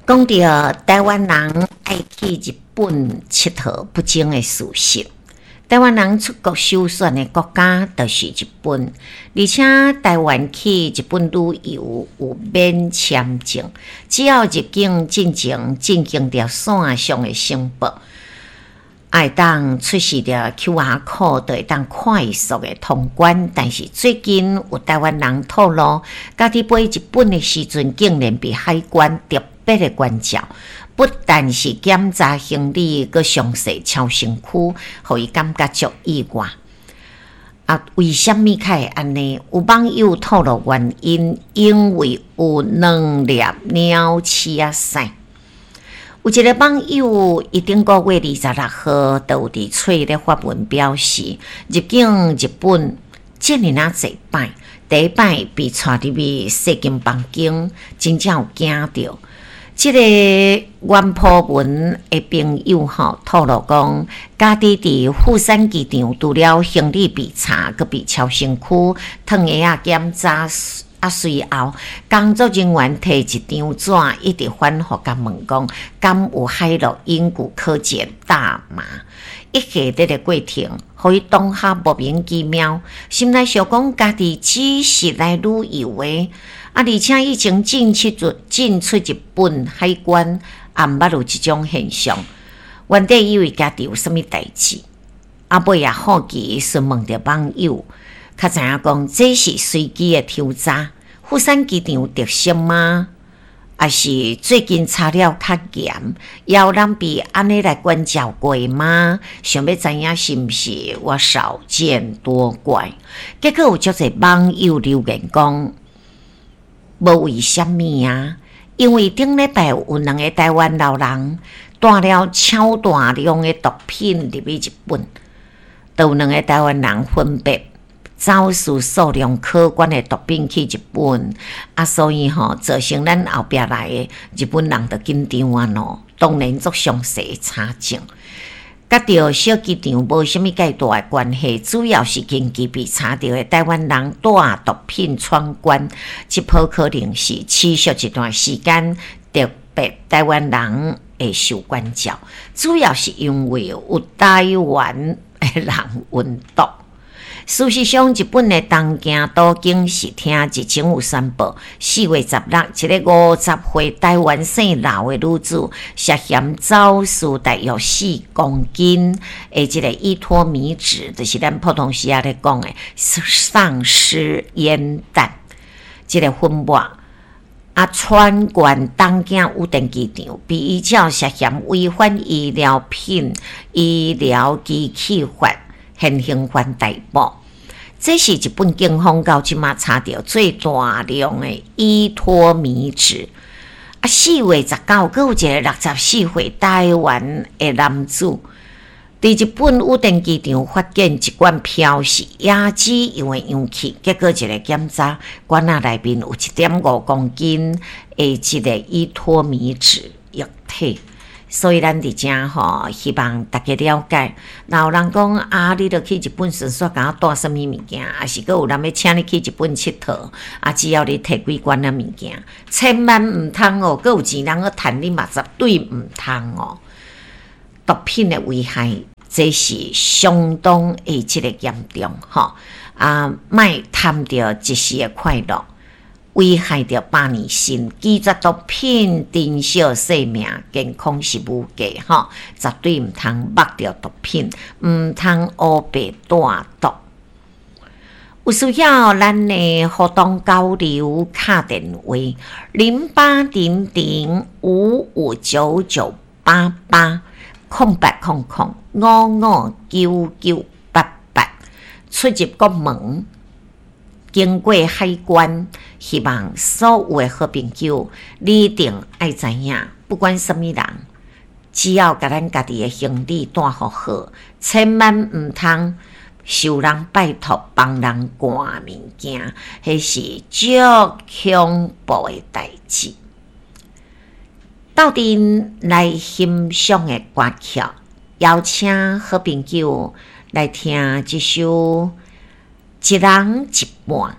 講著台灣人愛去日本𨑨迌不爭的事實。台灣人出國首選的國家就是日本，而且台灣去日本旅遊有免簽證，只要入境進前進行著線上的申報，會當出示著 QR code，就會當快速的通關。但是最近有台灣人透露，家己飛日本的時陣，竟然被海關特別的關照，不但是檢查行李，閣詳細抄身軀，予伊感覺足意外。啊，為啥物較會按呢？有網友透露原因，因為有兩粒鳥鼠仔屎。有一個網友，伊頂個月26號，就有佇喙咧發文表示，入境日本遮爾仔濟擺，第一擺被帶入去細間房間，真正有驚著。這個原 po 文的朋友吼透露講，家己佇富山機場除了行李被查，閣被抄身軀、脫鞋仔檢查，啊，隨後工作人員提一張紙，一直反覆共問講，敢有海洛因古柯鹼大麻？一系列的過程，予伊當下莫名其妙，心內想講家己只是來旅遊的。啊！而且以前進出日本海關，也毋捌有這種現象。原底以為家己有啥物代誌，啊尾也好奇詢問著網友，較知影講這是隨機的抽查，富山機場有特色嗎？抑是最近查了較嚴，也有人被按呢來關照過嗎？想欲知影是毋是我少見多怪？結果有足濟網友留言講，無為啥物啊？因為頂禮拜有兩个台灣老人帶了超大量的毒品入去日本，就有兩个台灣人分別走私數量可觀的毒品去日本，啊，所以吼造成咱後壁來的日本人就緊張啊喏，當然足詳細查證。佮著小機場無啥物介大的關係，主要是近期被查著的台灣人帶毒品闖關，這波可能是持續一段時間，特別台灣人會受關照，主要是因為有台灣的人運毒。事實上，日本的東京都警視廳日前有宣布，4月16，一个50歲台灣姓劉的女子涉嫌走私大約4公斤的這个依托咪酯，就是咱普通時仔咧講的喪屍煙彈，這个粉末啊，穿關東京羽田機場，被依照涉嫌違反醫療品醫療機器法現行犯逮捕。這是日本警方到這馬查著最大量的依托咪酯。啊，4月19，閣有一个64歲台灣的男子，佇日本羽田機場發現一罐標示椰子油的容器，結果一个檢查，罐仔內面有1.5公斤的這个依托咪酯液體。所以咱佇遮吼，希望大家了解。若有人講啊，你著去日本順煞共我帶啥物物件，抑是閣有人欲請你去日本𨑨迌，啊，只要你提幾罐仔物件，千萬毋通哦，閣有錢人閣趁你嘛，絕對毋通哦。毒品的危害，這是相當的這个嚴重吼。啊，莫貪著一時的快樂。危害著百年身，拒絕毒品，珍惜生命，健康是無價吼，絕對毋通目著毒品，毋通烏白帶毒。有需要咱的互動交流，敲電話0800559988 0800559988，出入國門。經過海關，希望所有的好朋友，你一定愛知影，不管啥物人，只要共咱家己的行李帶予好，千萬毋通受人拜託幫人掛物件，彼是足恐怖的代誌。鬥陣來欣賞的歌曲，邀請好朋友來聽這首。一人一半。